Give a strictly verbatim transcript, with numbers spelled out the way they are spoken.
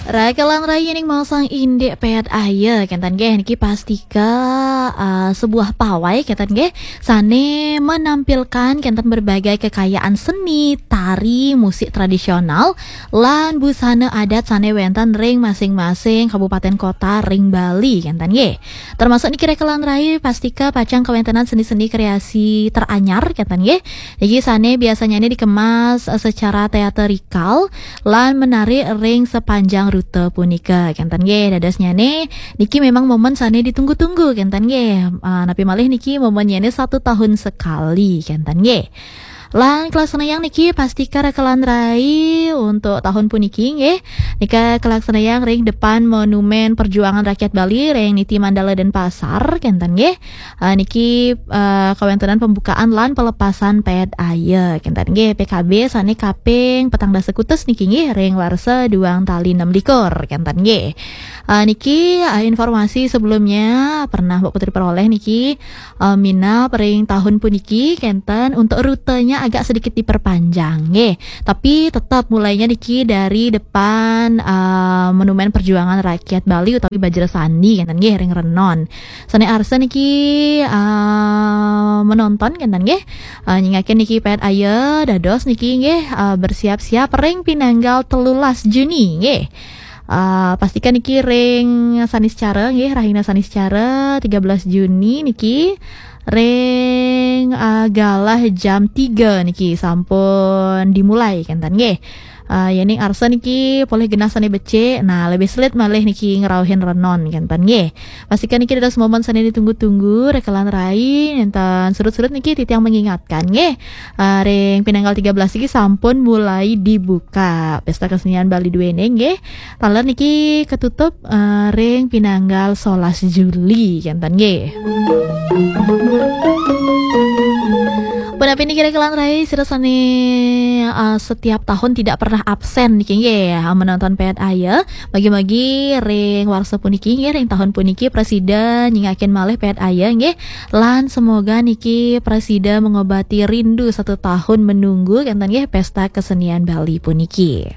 Rakelan rai ning mau sang indik pet aye kenten nggih, niki pastika uh, sebuah pawai kenten nggih, sane menampilkan kenten berbagai kekayaan seni, tari, musik tradisional, lan busana adat sane wenten ring masing-masing kabupaten kota ring Bali kenten nggih. Termasuk niki rakelan rai pastika pacang kawentenan seni-seni kreasi teranyar kenten nggih. Niki sane biasanya ini dikemas uh, secara teaterikal lan menarik ring sepanjang rute punika kenten nggih. Dadosnyane niki memang momen sane ditunggu-tunggu kenten nggih. Uh, napi malih niki momennyane satu tahun sekali kenten nggih. Lan kelaksanayang niki pastika rakelan rai untuk tahun puniki nggih. Nika kelaksanayang ring depan Monumen Perjuangan Rakyat Bali ring Niti Mandala Denpasar kenten nggih. Uh, niki uh, kawentenan pembukaan lan pelepasan pet aye kenten nggih, P K B sane kaping petang dasa kutus niki nggih ring warsa duang tali enam likur kenten nggih. Uh, niki uh, informasi sebelumnya pernah Mbak Putri peroleh niki uh, minab ring tahun puniki kenten untuk rutenya agak sedikit diperpanjang nggih. Tapi tetap mulainya niki dari depan uh, Monumen Perjuangan Rakyat Bali utawi Bajra Sandi kenten nggih ring Renon. Sane arsa niki uh, menonton kenten nggih. Uh, nyingakin niki pet aye dados niki nggih uh, bersiap-siap ring pinanggal telulas Juni nggih. Uh, pastikan niki ring Saniscara nggih, rahina Saniscara tiga belas Juni niki ring uh, galah jam tiga niki sampun dimulai kenten nggih. Uh, yening arsa niki polih genah sane becik, nah lebih selit malih niki ngerauhin Renon kenten nggih. Pastikan niki dados momen sane ditunggu-tunggu, rakelan rai, nenten surut-surut niki titiang mengingatkan nggih. Uh, ring pinanggal tiga belas niki sampun mulai dibuka Pesta Kesenian Bali duene nggih. Taler niki ketutup uh, ring pinanggal solas Juli kenten nggih. Punapi niki rakelan rai, sira sane uh, setiap tahun tidak pernah absen niki nggih uh, menonton pet aye. Bagi-bagi ring warsa puniki nggih, ring tahun puniki prasida nyingakin malih pet aye nggih. Lan semoga niki prasida mengobati rindu satu tahun menunggu kenten nggih Pesta Kesenian Bali puniki.